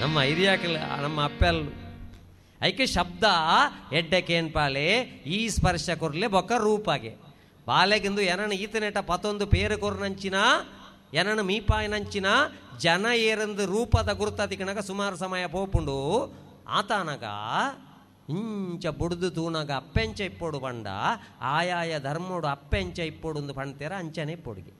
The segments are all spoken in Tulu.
ನಮ್ಮ ಹಿರಿಯಾಕಲ್ ನಮ್ಮ ಅಪ್ಪೆಲ್ ಐಕೆ ಶಬ್ದ ಎಡ್ಡೆ ಕೇನ್ಪಾಲೆ ಈ ಸ್ಪರ್ಶ ಕೊರ್ಲೆ ಬೊಕ್ಕ ರೂಪಾಗೆ ಬಾಲೆಗಿಂದು ಏನನ ಈತನೆಟ ಪತೊಂದು ಪೇರು ಕೊರ್ನಂಚಿನ ಏನನ ಮೀಪಾಯಿನಂಚಿನ ಜನ ಏರಂದು ರೂಪದ ಗುರುತಾತಿಕಣಗ ಸುಮಾರು ಸಮಯ ಪೋಪುಂಡು ಆತಾನಗ ಇಂಚ ಬುಡ್ದು ತೂನಗ ಅಪ್ಪೆಂಚ ಇಪ್ಪೋಡು ಬಂಡ ಆಯಾಯ ಧರ್ಮೋಡು ಅಪ್ಪೆಂಚ ಇಪ್ಪೋಡು ಒಂದು ಪಣ್ತೇರ ಅಂಚನೆ ಇಪ್ಪೊಡುಗೆ.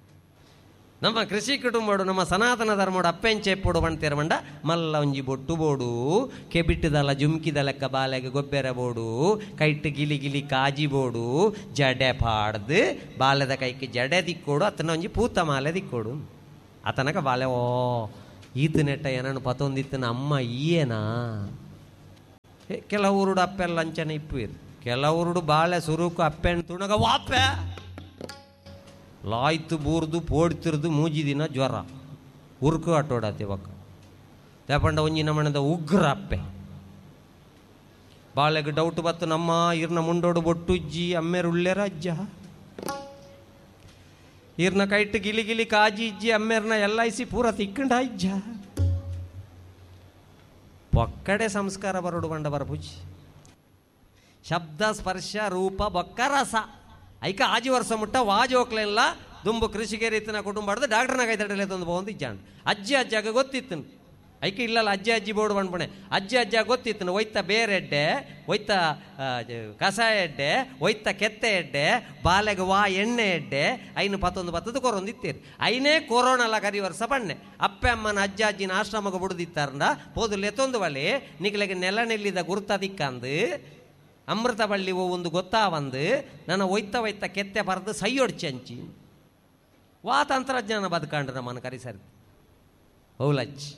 ನಮ್ಮ ಕೃಷಿ ಕುಟುಂಬಡು ನಮ್ಮ ಸನಾತನ ಧರ್ಮೋಡು ಅಪ್ಪೆಂಚ ಇಪ್ಪೋಡು ಪಣ್ತೇರ ಬಂಡ ಮಲ್ಲ ಒಂಜಿ ಬೊಟ್ಟು ಬೋಡು ಕೆಬಿಟ್ಟದಲ್ಲ ಜುಮ್ಕಿದ ಲೆಕ್ಕ ಬಾಲೆಗೆ ಗೊಬ್ಬೆರ ಬೋಡು ಕೈಟ್ ಗಿಲಿ ಗಿಲಿ ಕಾಜಿ ಬೋಡು ಜಡೆ ಪಾಡ್ದು ಬಾಲೆದ ಕೈಗೆ ಜಡೆ ದಿಕ್ಕೋಡು ಅತನ ಒಂಜಿ ಪೂತ ಮಾಲೆ ದಿಕ್ಕೋಡು ಆತನಕ ಬಾಲೆ ಓ ಈತನೆಟ್ಟ ಏನನ್ನು ಪತೊಂದಿತ್ತನ ಅಮ್ಮ ಈಯೇನಾ. ಕೆಲವೂರುಡು ಅಪ್ಪೆಲ್ಲ ಅಂಚನೆ ಇಪ್ಪುವಿರು ಕೆಲವೂರುಡು ಬಾಳೆ ಸುರುಕು ಅಪ್ಪೆಣ್ಣು ತುಣಗ ವಾಪೆ ಲಾಯ್ತು ಬೂರ್ದು ಪೋಡ್ತಿರ್ದು ಮೂಜಿ ದಿನ ಜ್ವರ ಉರ್ಕು ಆಟೋಡಾತಿ ಬಕ್ಕ ತೇಪಂಡ ಒಂಜಿ ನಮ್ಮಣದ ಉಗ್ರ ಅಪ್ಪೆ ಬಾಳೆಗೆ ಡೌಟ್ ಬತ್ತು ನಮ್ಮ ಇರ್ನ ಮುಂಡೋಡು ಬೊಟ್ಟುಜ್ಜಿ ಅಮ್ಮೇರು ಉಳ್ಳೇರ ಅಜ್ಜ ಇರ್ನ ಕೈಟ್ ಗಿಲಿ ಗಿಲಿ ಕಾಜಿ ಇಜ್ಜಿ ಅಮ್ಮೇರ್ನ ಎಲ್ಲ ಇಸಿ ಪೂರ ತಿಕ್ಕಂಡ ಇಜ್ಜ ಒಕ್ಕಡೆ ಸಂಸ್ಕಾರ ಬರೋಡು ಬಂಡ ಬರಪುಜಿ ಶಬ್ದ ಸ್ಪರ್ಶ ರೂಪ ಬೊಕ್ಕ ರಸ ಐಕ ಆಜಿ ವರ್ಷ ಮುಟ್ಟ ವಾಜೋಕ್ಲೆಲ್ಲ ದುಂಬು ಕೃಷಿಗೆ ರೀತಿನ ಕುಟುಂಬ ಡಾಕ್ಟರ್ನ ಕೈ ತಡಲೆ ತಂದು ಬಂದು ಇಜ್ಜಾಂಡ್ ಅಜ್ಜಿ ಅಜ್ಜಾಗ ಗೊತ್ತಿತ್ತು ಐಕೆ ಇಲ್ಲಲ್ಲ ಅಜ್ಜಿ ಅಜ್ಜಿ ಬೋರ್ಡು ಬಂದ್ಪಣೆ ಅಜ್ಜಿ ಅಜ್ಜ ಗೊತ್ತಿತ್ತು ಒಯ್ತ ಬೇರೆ ಎಡ್ಡೆ ಒಯ್ತ ಕಸಾಯ ಎಡ್ಡೆ ಒಯ್ತ ಕೆತ್ತೆ ಎಡ್ಡೆ ಬಾಲೆಗೆ ವಾ ಎಣ್ಣೆ ಎಡ್ಡೆ ಐನು ಪತ್ತೊಂದು ಪತ್ತದು ಕೊರೊಂದು ಇತ್ತೀರಿ ಐನೇ ಕೊರೋನಲ್ಲ ಕರಿ ವರ್ಷ ಪಣ್ಣೆ ಅಪ್ಪೆ ಅಮ್ಮನ ಅಜ್ಜ ಅಜ್ಜಿನ ಆಶ್ರಮಕ್ಕೆ ಬುಡ್ದಿತ್ತಾರಂದ ಪೋದು ಲೆತ್ತೊಂದು ಬಳಿ ನಿಕ್ಲೆಗೆ ನೆಲ ನೆಲ್ಲಿದ ಗುರ್ತ ದಿಕ್ಕಂದು ಅಮೃತ ಬಳ್ಳಿ ಒಂದು ಗೊತ್ತಾ ಬಂದು ನನ್ನ ಒಯ್ತ ಒಯ್ತ ಕೆತ್ತೆ ಬರೆದು ಸೈಯೊಡ್ಚಿ ಅಂಚಿ ವಾ ತಂತ್ರಜ್ಞಾನ ಬದುಕಂಡ್ರೆ ನಮ್ಮನ್ನು ಕರಿಸರಿ ಹೌಲಚ್ಚಿ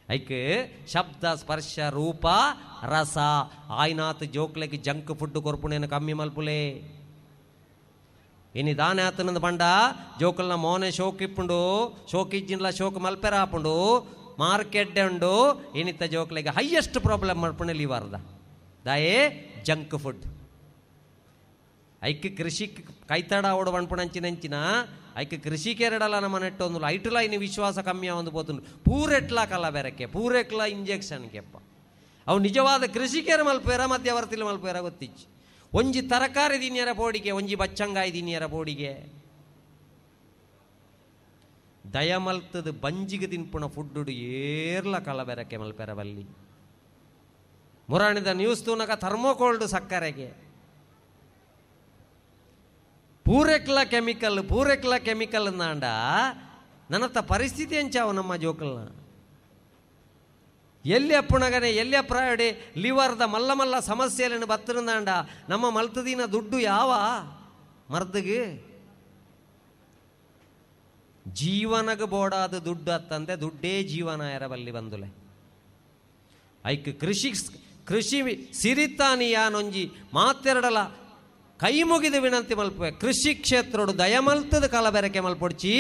ಐಕ್ ಶಬ್ದ ಸ್ಪರ್ಶ ರೂಪ ರಸ ಆಯ್ನಾತ್ ಜೋಕ್ಲೆಗೆ ಜಂಕ್ ಫುಡ್ ಕೊರ್ಪುಣೇನು ಕಮ್ಮಿ ಮಲ್ಪುಲೆ ಇನಿ ದಾನೆ ಆತನಂದು ಬಂಡ ಜೋಕಲ್ನ ಮೋನೆ ಶೋಕ್ ಇಪ್ಪುಂಡು ಶೋಕ್ ಇಜ್ಜಿನ್ಲ ಶೋಕ್ ಮಲ್ಪೆರ ಆಪುಂಡು ಮಾರ್ಕೆಟ್ ಉಂಡು ಇನಿತ ಜೋಕ್ಲೆಗೆ ಹೈಯೆಸ್ಟ್ ಪ್ರಾಬ್ಲಮ್ ಮಲ್ಪುಣೆ ಲಿವರ್ದ ದಾಯೇ ಜಂಕ್ ಫುಡ್ ಐಕ್ ಕೃಷಿ ಕೈತಡ ಓಡು ಪಣ್ಪುಣಂಚಿನಂಚಿನ ಐಕ್ ಕೃಷಿ ಕೆರಡಲ ನಮ್ಮ ನೆಟ್ಟೊಂದು ಐಟುಲ ಇನ್ನು ವಿಶ್ವಾಸ ಕಮ್ಮಿ ಒಂದು ಪೋತುಂಡು ಪೂರೆಟ್ಲಾ ಕಲ್ಲ ಬೆರಕೆ ಪೂರೆಟ್ಲ ಇಂಜೆಕ್ಷನ್ ಕೆಪ್ಪ ಅವು ನಿಜವಾದ ಕೃಷಿಕರ ಮಲ್ಪೇರ ಮಧ್ಯವರ್ತಿಲ ಮಲ್ಪೇರ ಗೊತ್ತಿಚ್ಚು ಒಂಜಿ ತರಕಾರಿ ದಿನ್ಯರ ಪೋಡಿಗೆ ಒಂಜಿ ಬಚ್ಚಂಗಾಯಿ ದಿನ್ಯರ ಪೋಡಿಗೆ ದಯಮಲ್ತದ ಬಂಜಿಗೆ ತಿನ್ಪುಣ ಫುಡ್ಡು ಏರ್ಲ ಕಲ್ಲ ಬೆರಕೆ ಮಲ್ಪೆರ ಬಲ್ಲಿ ಮುರಾಣಿದ ನ್ಯೂಸ್ ತೂನಕ ಥರ್ಮೋಕೋಲ್ಡ್ ಸಕ್ಕರೆಗೆ ಪೂರೆಕ್ಲ ಕೆಮಿಕಲ್ ಪೂರೆಕ್ಲ ಕೆಮಿಕಲ್ ಅಂದಾಂಡ ನನ್ನತ್ತ ಪರಿಸ್ಥಿತಿ ಎಂಚಾವು ನಮ್ಮ ಜೋಕಲ್ನ ಎಲ್ಲಿ ಅಪ್ಪುಣಗನೆ ಎಲ್ಲಿ ಅಪ್ರಾಯಡಿ ಲಿವರ್ದ ಮಲ್ಲ ಮಲ್ಲ ಸಮಸ್ಯೆಗಳನ್ನು ಬತ್ತಿರಂದಾಂಡ ನಮ್ಮ ಮಲ್ತದಿನ ದುಡ್ಡು ಯಾವ ಮರ್ದಿಗೆ ಜೀವನಗ ಬೋಡಾದ ದುಡ್ಡು ಅತ್ತಂತೆ ದುಡ್ಡೇ ಜೀವನ ಎರಬಲ್ಲಿ ಬಂದುಲೆ ಐಕ್ ಕೃಷಿ ಕೃಷಿ ಸಿರಿತಾನಿ ಯಾನೊಂಜಿ ಮಾತೆರಡಲ ಕೈ ಮುಗಿದು ವಿನಂತಿ ಮಲ್ಪುವೆ ಕೃಷಿ ಕ್ಷೇತ್ರೋಡು ದಯಮಲ್ತದ ಕಲಬೆರಕೆ ಮಲ್ಪೊಡ್ಚಿ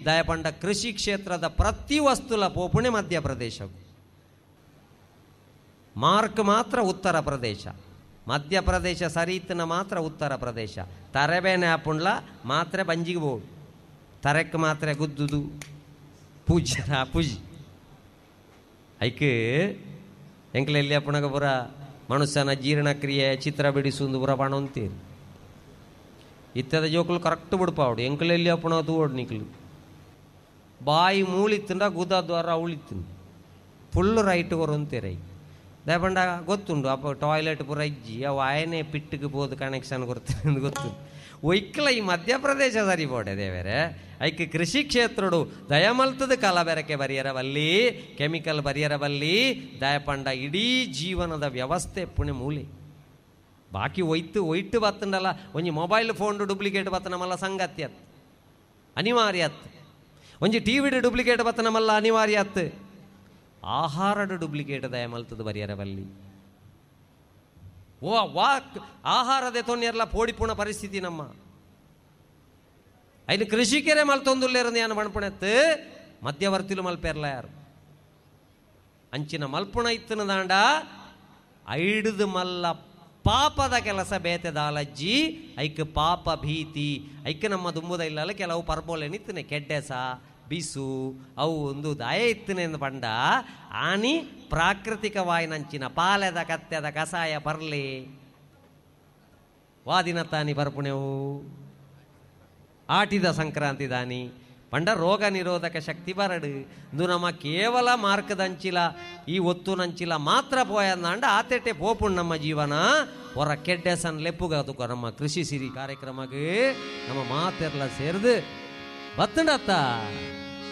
ದಯಪಂಡ ಕೃಷಿ ಕ್ಷೇತ್ರದ ಪ್ರತಿ ವಸ್ತುಲ ಪೋಪುಣೆ ಮಧ್ಯಪ್ರದೇಶ ಮಾರ್ಕ್ ಮಾತ್ರ ಉತ್ತರ ಪ್ರದೇಶ ಮಧ್ಯಪ್ರದೇಶ ಸರೀತನ ಮಾತ್ರ ಉತ್ತರ ಪ್ರದೇಶ ತರೆಬೇನೆ ಆಪುಂಡ್ಲ ಮಾತ್ರೆ ಬಂಜಿಗೆ ಬೋಡು ತರೆಕ್ ಮಾತ್ರೆ ಗುದ್ದುದು ಪೂಜೆ ಪೂಜೆ ಐಕ್ ಎಂಕ್ಲ ಎಲ್ಲಿ ಅಪ್ಪಣಗ ಪುರ ಮನುಷ್ಯನ ಜೀರ್ಣಕ್ರಿಯೆ ಚಿತ್ರ ಬಿಡಿಸುಂದು ಪುರ ಪಣೊಂತೀರಿ ಇತ್ತದ ಜೋಕುಲು ಕರೆಕ್ಟ್ ಬಿಡ್ಪಾವಡು ಎಂಕಲೆಲ್ಲಿ ಅಪ್ಪಣ ತೂವಡು ನಿಕ್ಲು ಬಾಯಿ ಮೂಳಿತ್ತುಂಡ ಗುದ ದ್ವಾರ ಉಳಿತು ಫುಲ್ ರೈಟ್ ಕೊರೊಂತೀರ ದಯಪಂಡ ಗೊತ್ತುಂಡು ಅಪ್ಪ ಟಾಯ್ಲೆಟ್ ಪೂರ ಇಜ್ಜಿ ಅವು ಆಯನೇ ಪಿಟ್ಟಿಗೆ ಪೋದು ಕನೆಕ್ಷನ್ ಕೊಡ್ತೀನಿ ಗೊತ್ತುಂಡು ಒಯ್ಕಲ ಈ ಮಧ್ಯಪ್ರದೇಶ ಸರಿ ಬೋಡೆ ದೇವರೇ ಐಕ್ ಕೃಷಿ ಕ್ಷೇತ್ರಡು ದಯಮಲ್ತದ ಕಲಬೆರಕೆ ಬರಿಯರ ಬಲ್ಲಿ ಕೆಮಿಕಲ್ ಬರಿಯರ ಬಲ್ಲಿ ದಯಪಂಡ ಇಡೀ ಜೀವನದ ವ್ಯವಸ್ಥೆ ಪುಣೆ ಮೂಲೆ ಬಾಕಿ ಒಯ್ತು ಒಯ್ಟು ಬತ್ತಂಡಲ್ಲ ಒಂಜಿ ಮೊಬೈಲ್ ಫೋನ್ ಡೂಪ್ಲಿಕೇಟ್ ಬತ್ತ ನಮ್ಮಲ್ಲ ಸಂಗತಿ ಅತ್ ಅನಿವಾರ್ಯ ಅತ್ ಒಂಜಿ ಟಿ ವಿಡು ಡೂಪ್ಲಿಕೇಟ್ ಬತ್ತ ನಮ್ಮಲ್ಲ ಅನಿವಾರ್ಯ ಅತ್ ಆಹಾರದ ಡೂಪ್ಲಿಕೇಟ್ ದಯಮಲ್ತದ ಬರಿಯರ ಬಲ್ಲಿ ಓ ವಾಕ್ ಆಹಾರದ ತೊನ್ನೆರ್ಲ ಪೋಡಿಪುಣ ಪರಿಸ್ಥಿತಿ ನಮ್ಮ ಐನು ಕೃಷಿಕೆರೆ ಮಲ್ತೊಂದುಲ್ಲೇರಂದು ಯಾನು ಮಣ್ಪುಣೆತ್ತು ಮಧ್ಯವರ್ತಿಲು ಮಲ್ಪೇರ್ಲ ಯಾರು ಅಂಚಿನ ಮಲ್ಪುಣ ಇತ್ತನ ದಾಂಡ ಐಡುದು ಮಲ್ಲ ಪಾಪದ ಕೆಲಸ ಬೇತೆ ದಾಲಜ್ಜಿ ಐಕ್ ಪಾಪ ಭೀತಿ ಐಕ್ ನಮ್ಮ ದುಂಬುದ ಇಲ್ಲಲ್ಲ ಕೆಲವು ಪರ್ಬೋಲೆ ನಿತ್ತನೆ ಕೆಡ್ಡೆಸ ಬಿಸು ಅವು ಒಂದು ದಾಯ ಇತ್ತನೆಂದು ಪಂಡ ಆನಿ ಪ್ರಾಕೃತಿಕವಾಯಿನಂಚಿನ ಪಾಲೆದ ಕತ್ತೆದ ಕಸಾಯ ಪರ್ಲಿ ವಾದಿನ ತಾನಿ ಪರ್ಪುಣೆವು ಆಟಿದ ಸಂಕ್ರಾಂತಿ ದಾನಿ ಪಂಡ ರೋಗ ನಿರೋಧಕ ಶಕ್ತಿ ಬರಡು. ಇಂದು ನಮ್ಮ ಕೇವಲ ಮಾರ್ಕದಂಚಿಲ ಈ ಒತ್ತುನಂಚಿಲ ಮಾತ್ರ ಪೋಯಂದಾಂಡ ಆತೆಟೆ ಪೋಪುಣ್ ನಮ್ಮ ಜೀವನ ಹೊರ ಕೆಡ್ಡೆಸನ್ ಲೆಪ್ಪುಗ ನಮ್ಮ ಕೃಷಿ ಸಿರಿ ಕಾರ್ಯಕ್ರಮಕ್ಕೆ ನಮ್ಮ ಮಾತೆರ್ಲ ಸೇರ್ದು ಬತ್ತಂಡತ್ತ.